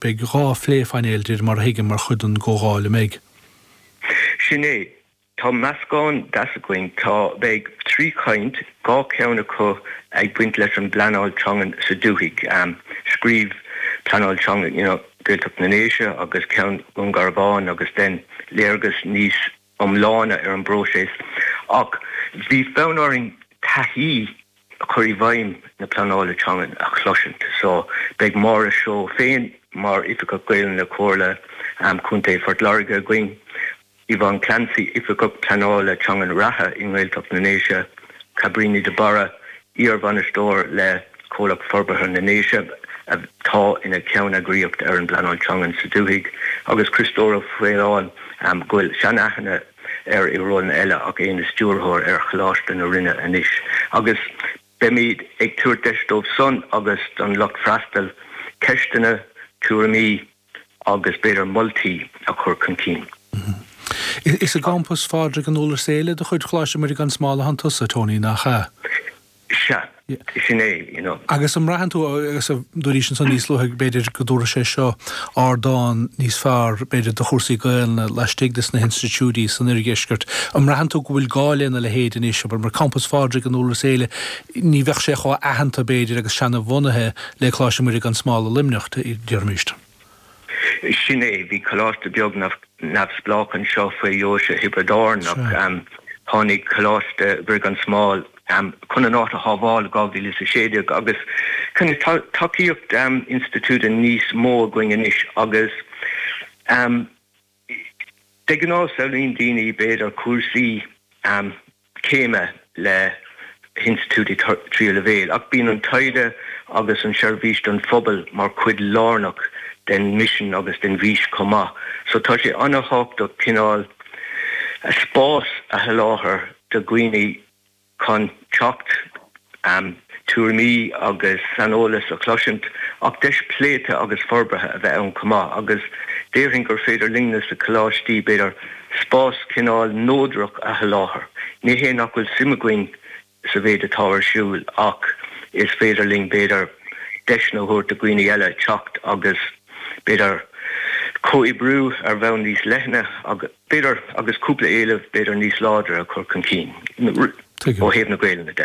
Beidh 2 phlé-phainéal, de réir mar a thuigim, mar chuid den gcomhdháil, an mbeidh? Sin é. Tá meascán deas againn. Tá, beidh 3 chaint, 2 cheann acu ag baint leis an bpleanáil teangan sa dúthaigh, scríobh pleanáil teangan, you know, Gaeltacht na nDéise agus ceann Dhún Garbhán agus then léargas níos iomláine ar an bpróiseas. Ach bhí fonn orainn taithí chur i bhfeidhm na pleanála teangan a chloisint. So beidh Máire Seoighe féin mar Oifigeach Gaelainne le Comhairle Contae Phort Láirge againn, Yvonne Clancy, Oifigeach Pleanála Teangan reatha i nGaeltacht na nDéise, Cabríní de Barra, iar-bhainisteoir le Comhlacht Forbartha na nDéise atá ina cheanneagraíocht ar an bpleanáil teangan sa dúthaigh, agus Criostóir Ó Faoláin, go bhfuil sean-aithne air i rólanna eile ach é ina stiúrthóir ar Choláiste na Rinne anois. Agus beimid ag tabhairt deis dóibh san agus don lucht freastail ceisteanna, tuairimí, agus b'fhéidir moltaí a chur chun cinn. Is i gcampas Phádraig an Iúir Céile de chuid Choláiste Muire gan Smál atánn tusa, Tony, nach ea? Sea, sin é, you know. Agus an mbraitheann tú, agus dúraís ansan níos luaithe, b'fhéidir go dtabharfaidh sé seo ardán níos fearr, b'fhéidir, do chúrsaí Gaelainne laistigh de sna hinstitiúidí san oirdheisceart, an mbraitheann tú go bhfuil gá lena leithéid anois, abair, mar campas Phádraig an Iúir Céile, ní bheadh sé chomh aitheanta, b'fhéidir, agus seana-bhunaithe le Coláiste Muire gan Smál i Luimneach, déarfaimis. Sin é, bhí coláiste beag neamhspleách anseo faoi Dheoise Thiobraid Árann ach tháinig Coláiste Mhuire gan Smál chun an áit a shábháil i 2016 agus tá tacaíocht institiúide níos mó againn anois agus De ghnáth samhlaíonn daoine b'fhéidir cúrsaí céime le hinstitiúidí tríú leibhéal ach bíonn an taighde agus an seirbhís don phobal mar chuid lárnach den mhisean agus den bhfís chomh maith. So tá sé an-thábhachtach cineál spás a sholáthar do dhaoine chun teacht, tuairimí agus saineolas a chloisint, ach deis pléite agus forbartha a bheith ann chomh maith, agus déarfainn gur féidir linne sna coláistí, b'fhéidir, spás cineál neodrach a sholáthar. Ní hé nach bhfuil suim againn sa mhéid atá ar siúl, ach is féidir linn, b'fhéidir, deiseanna a thabhairt do dhaoine eile teacht agus, b'fhéidir, comhoibriú ar bhonn níos leithne agus. b'fhéidir, agus cúpla éileamh b'fhéidir níos láidre a chur chun cinn ó thaobh na Gaelainne de.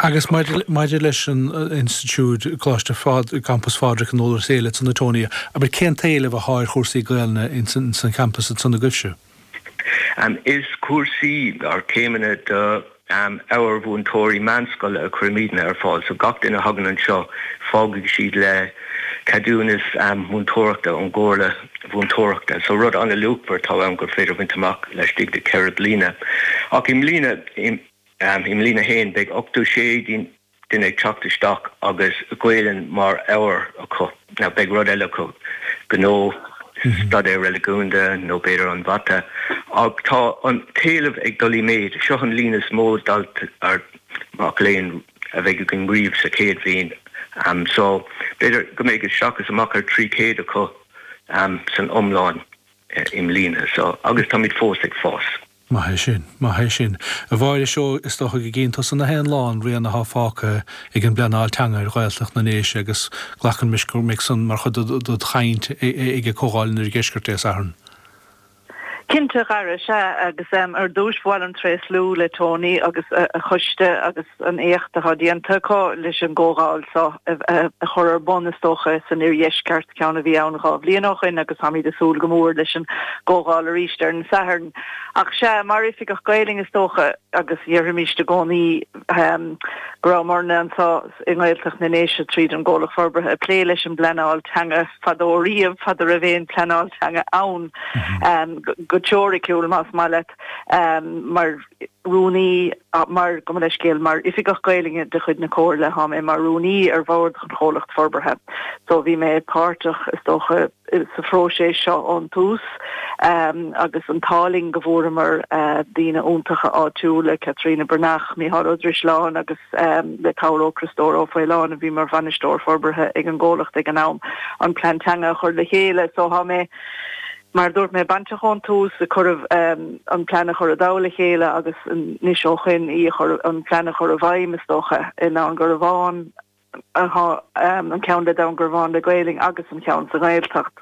Agus maidir leis an institiúid, Coláiste Phádraig, Campas Phádraig an Iúir is Éile ansan a Tony, abair, cén t-éileamh athá ar chúrsaí Gaelainne ins an champas ansan agaibhse? Is cúrsaí, or céimeanna do ábhair mhúinteoirí meánscoile a chuirimidne ar fáil. So gach duine a thagann anseo fágfaidh siad le ceadúnas múinteoireachta ón gComhairle Mhúinteoireachta. So rud an-luachmhar atá ann gur féidir a bhaint amach laistigh de cheithre bliana. Ach i mbliana, i mbliain a haon, beidh 86 duine ag teacht isteach agus Gaelainn mar ábhar acu. Now beidh rud eile acu, gnó, staidéar reiligiúnda nó b'fhéidir an mhata. Ach tá an t-éileamh ag dul i méid. Seo an líon is mó daltaí mac léinn a bheidh againn riamh sa chéad bhliain. So b'fhéidir go mbeidh isteach is amach ar 300 acu san iomlán i mbliana. So agus táimid fós ag fás. Maith é sin. Maith é sin. A Mháire Seoighe, is dócha go gcíonn tusa na haon lá an rian athá fágtha ag an bpleanáil teanga ar Ghaeltacht na nDéise agus glacann mise go mbeidh san mar chuid dod chaint ag Comhdháil an Oirdheiscirt Dé Sathairn. Cinnte, a Dhara, sea, agus ar dtúis ba mhaith liom tréaslú le Tony agus a choiste agus an éacht atá déanta acu leis an gcomhdháil seo a chur ar bun, is dócha, san Oirdheisceart, ceann a bhí ann 2 bhliain ó shoin agus táimid ag súil go mór leis an gcomhdháil arís ar an Satharn. Ach sea, mar Oifigeach Gaelainne is dócha, agus déarfaimis i gcónaí go rabhamarna anseo i nGaeltacht na nDéise tríd an gComhlacht Forbartha ag plé leis an bpleanáil teanga fadó riamh, fada raibh aon pleanáil teanga ann go teoiriciúil más maith leat, mar rúnaí, mar, gabh mo leithscéal, mar Oifigeach Gaelainne de chuid na Comhairle, tá mé mar rúnaí ar bhord an Chomhlacht Forbartha. So bhí mé páirteach, is dócha, sa phróiseas seo ón tús agus an t-ádh linn go bhfuaireamar daoine iontacha áitiúla, Caitríona Breathnach, Mícheál Ó Drisleáin agus le cabhair ó Criostóir Ó Faoláin a bhí mar bhainisteoir forbartha ag an gcomhlacht ag an am, an plean teanga a chur le chéile. So tá mé, mar a dúirt mé, bainteach ón tús ag cur an plean a chur i dtoll a chéile agus anois ó shoin í a chur, an plean a chur i bhfeidhm is dócha, i nDún Garbhán. Atá an ceann le Dún Garbhán le Gaolainn agus an ceann sa nGaeltacht.